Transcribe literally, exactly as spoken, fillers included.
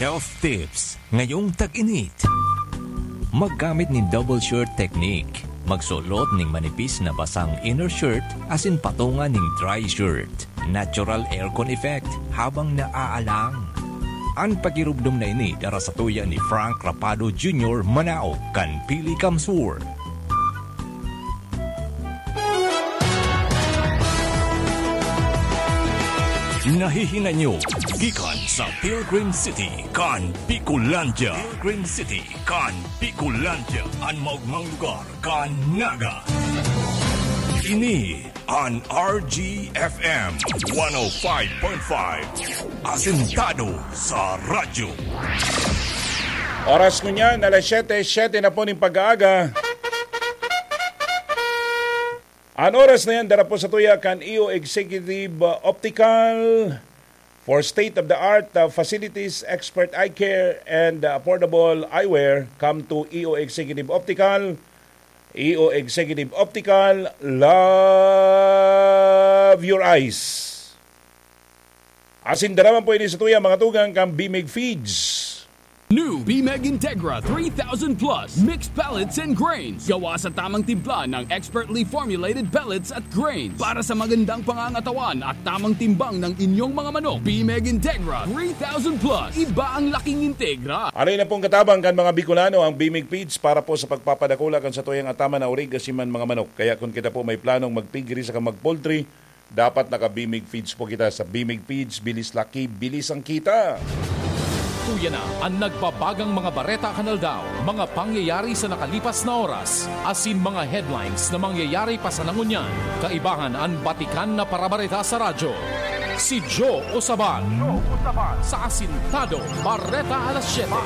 Health tips ngayong tag-init. Maggamit nin double shirt technique. Magsulot ning manipis na basang inner shirt asin patunga ning dry shirt. Natural aircon effect habang naaalang. An pakirumdom na ini dara sa tuya ni Frank Rapado Junior, Manao, kan Pili Kamsur. Nahihinanyo gikan sa Pilgrim City kan Bicolandia. Pilgrim City kan Bicolandia, an maogmang lugar kan Naga. Ini an R G F M one oh five point five, asentado sa radyo. Oras ngunyan, alas siyete, siyete na po ning pag-aaga. An oras na yan, dara po sa tuya kan E O Executive, uh, Optical. For state-of-the-art, uh, facilities, expert eye care, and, uh, affordable eyewear, come to E O Executive Optical. E O Executive Optical, love your eyes. Asin dara man po ini sa tuya, mga tugang, kan Bimig Feeds. New Bimeg Integra three thousand Plus Mixed Pellets and Grains. Gawa sa tamang timpla ng expertly formulated pellets at grains para sa magandang pangangatawan at tamang timbang ng inyong mga manok. Bimeg Integra three thousand Plus. Iba ang laking Integra. Aray na pong katabang kan mga Bicolano ang Bimig Feeds para po sa pagpapadakula kan satuyang ataman na orig asin man mga manok. Kaya kun kita po may planong mag-piggery saka mag-poultry, dapat naka-Bimig Feeds po kita. Sa Bimig Feeds, bilis laki, bilis ang kita. Tuya na an nagbabagang mga bareta kan aldaw, mga pangyayari sa nakalipas na oras, asin mga headlines na mangyayari pa sana ngunyan. Kaibahan an batikan na parabareta sa radyo. Si Joe Osaban sa Asintado Bareta Alas Siyete.